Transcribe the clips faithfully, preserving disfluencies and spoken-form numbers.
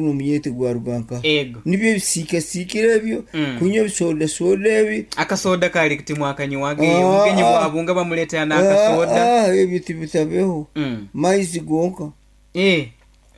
Omunyete gwaruga nkaha? Ego. Nibyo ebisiikasikire ebyo, Mm. kunywa ebisodasoda ebi. Akasoda kali timwakanywaga, Ah, obugenyi ah. bwabunga bamuleetera n'akasoda. Ah, ah, ebyo tibitabeho. Mm. Maizi gonka. Eh,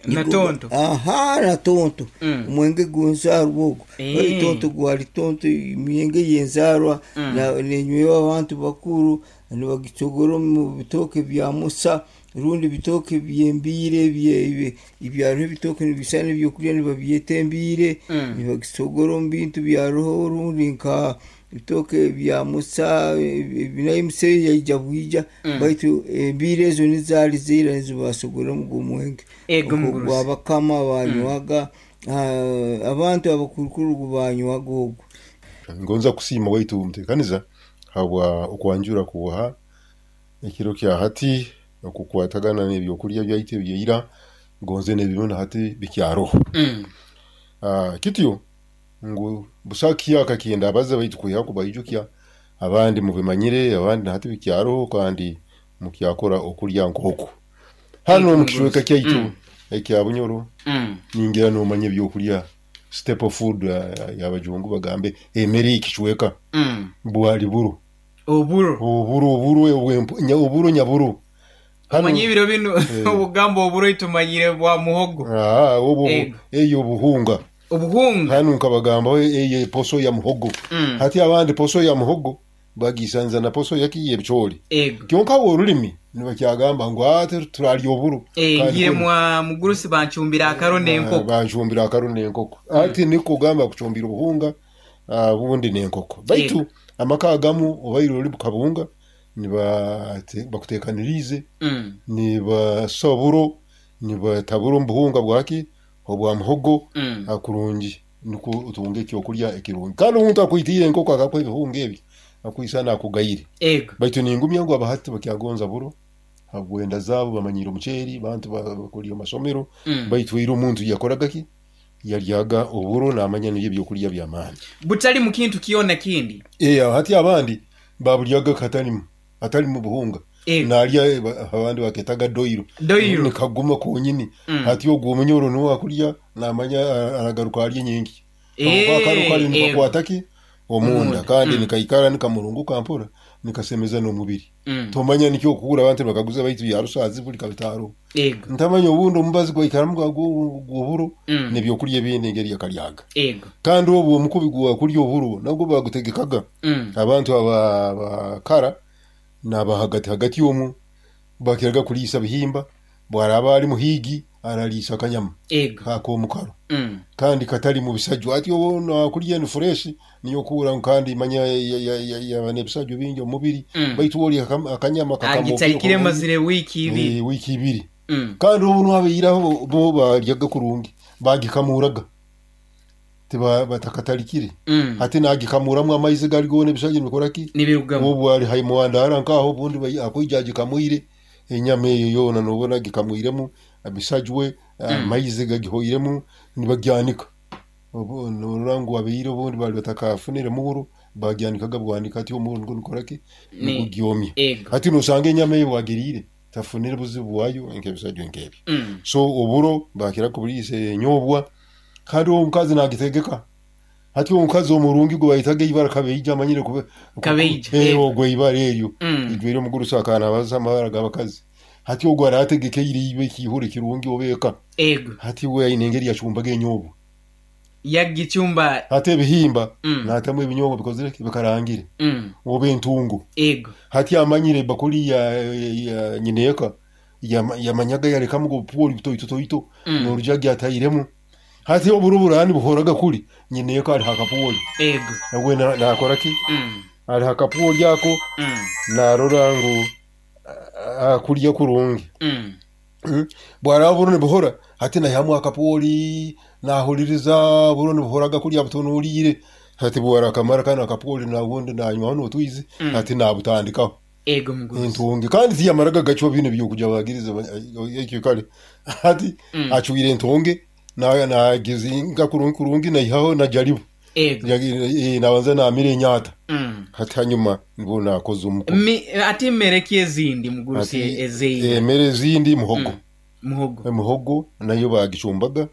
na tonto. Aha, na tonto. Mm. Omwenge gw'enzaarwa ogwo. Eh. Oyo tonto gwali tonto, emyenge y'enzaarwa Mm. na- nenywewa abantu bakuru, nibagitogora omu bitooke bya musa rundi bitooke by'embiire, ebye- ebye- ebyaro ebitooke nibisana ebyokurya nibabyeta embiire. Mm. Nibagitogora omu bintu bya roho rundi nka bitooke bya musa, ebi nayo emusa eyo yaija bwija. Mm. Baitu embiire ezo nizaali zaira nizo basogoramu ogu omwenge. Ego Ogwo mugurusi. gwabakama banywaga, ah, abantu abakurukuru gubanywaga ogwo. Ngonza kusiima waitu muteekaniza habwa okwanjura kuha ekiro kya hati okukwatagana n'ebyokurya byaitu ebyaira, ngonze n'ebimu na hati bikyaroho. Mm. Ah, kityo ngu busaho kihyaka kindabaza baitu kwihaho kubaijukya, abandi mubimanyire, abandi na hati bikyaroho kandi mukyakora okulya nk'oku. Hanu omu kicweka kyaitu Mm. ekya Bunyoro, Mm. ningira noomanya ebyokurya staple food, ah, y'abajungu bagambe emere y'ekicweka Mm. bwali buro. Oburo. Oburo, oburo obwempu- nya- oburo nyaburo. Hanu Omanye ebiro bino Eh. obugamba oburo tumanyire bwa muhogo. Ah, obu Ego. eyo obuhunga. Obuhunga. Hanu nkabagambaho eyo eposo ya muhogo. Mm. Hati abandi poso ya muhogo bagisanza na poso yaki y'ebicoori. Ego. Kyonka bo orulimi nibakyagamba ngu ate turarya oburo. Eh, Kandi ngire kunu- mwa mugurusi bancumbira akaro n'enkoko. Ah, bancumbira akaro n'enkoko. Ati niko gamba kucumbira obuhunga, ah, obundi n'enkoko. Baitu Ego. amaka agamu obaire ori bukabunga niba bakuteekaniriize, Mm. nibasa oburo, nibatabura omu buhunga bwaki obwa muhogo. Mm. Kurungi nikwo otunge ekyokurya ekirungi. Kandi omuntu akwitiire enkoko akakuha ebihunga ebi akwisana akugayire. Ego. Baitu ningumya ngu abahati bakyagonza buro habwenda zaabo, bamanyire omuceeri, bantu bakulya omu masomero. Mm. Baitu ira omuntu yakoraga ki? Yaryaga oburo naamanya nibyo ebyokurya by'amaani. Butali mu kintu kyona kindi. Eh, hati abandi babulyaga katalimu hatalimu buhunga. Ego. Nalya eh, ba- abandi baketaga doiro. Doiro. Nikaguma konyini. Mm. Hati ogwo omunyoro niwe akulya namanya ah, aragaruka arya nyingi. Eh, Akaro kali ego. nikakwata ki omunda Omunda. kandi Mm. nikaikara nikamurunguka mpora nikasemeza n'omubiri. Mm. Tomanya nikyo okukura abantu bakaguza baitu ya rusaazi buli kabitaaro. Ego. Ntamanya obundi omubazi gwaikaramu gw'oburo Mm. n'ebyokurya ebindi engeri yakalyaga. Ego. Kandi obwo omukubi gwa kurya oburo nabwo bagutegekaga. Mm. Abantu aba abakara n'aba hagati hagati omu bakiraga kuliisa bihimba, bwaraba ali muhiigi araliisa akanyama Ego. ak'omukaro Mm. kandi katali mu bisajju. Ati obo nakurya ni fresh niyo okuura kandi manya yaba n'ebisajju bingi omu mubiri. Mm. Baitu olya akam- akanyama kakamookere Agitalikire kurungi. mazire wiiki ibiri. Eh, wiiki ibiri. Mm. Kandi obu nabairaho bo baryaga kurungi, bagikamuraga, tiba batakatalikire. Mm. Hati nagikamuramu amaizi gali goona ebisajju nibikora ki? Nibirugamu. Obu ali haimuwandara nkaho obundi bai- akwija agikamwire enyama eyo yoona nobona agikamwiremu ebisajwe, amaizi gagihoiremu nibagyanika. Obu norora ngu abaire obundi bali batakafunire muhuro bagyanikaga bwanika ati omuhuro nigwo nigukora ki? Ni- Nigugyomya. Ego. Hati nosanga enyama eyo wagiriire tafunire buzibu bwayo nk'ebisajjo nk'ebyo. Mm. So oburo bakira kubuliisa enyoobwa kandi omukazi nagitegeka. Hati omukazi omurungi gwe bayitaga ibara kabeija amanyire kube Kabeija, Eh, ego. ogwo ibara eryo. Mm. Ijwire omugurusi akanabaza amabara g'abakazi. Hati ogwo arategekeire ibe ekihuro ekirungi obeeka. Ego. Hati we aine engeri yacumbaga enyoobwa. Yagichumba. Hati ebihimba Mm. naatamu ebinyobwa bikozire ki? Bikarangire. Mm. Oba entungo. Ego. Hati amanyire ebakuli ya, ya nyineeka yamanyaga yalekamu obupuoli butoito toito. Mm. N'oruja gyatairemu. Hati oburo burani buhoraga kuli nyineeka ali hakapuoli. Ego. Nawe na- nakora ki? Mm. Ali hakapuoli ako Mm. narora ngu a- akulya kurungi. Mm. Mm. Bwaraba buro nibuhora hati naihamu akapuoli nahuliriza buro nibuhoraga kulya butunuulire. Hati bwara akamara kanu akapuoli nabundi nanywaho n'otwizi. Mm. Hati nabutandikaho. Ego mugurusi. Entungi kandi tiyamaraga gacwa bino ebyokuja bagiriza ekyo kale. Hati Mm. acwire entonge na nagizinga kurungi kurungi naihaho najaribu. Ego. Yagi- eh, nabanza namira enyata. Mm. Hati hanyuma nibwo nakoze omukubi. Mi, ate emmere ki ezindi mugurusi Hati ezeira? emmere ezindi muhogo. Mm. Muhogo. Muhogo nayo bagicumbaga.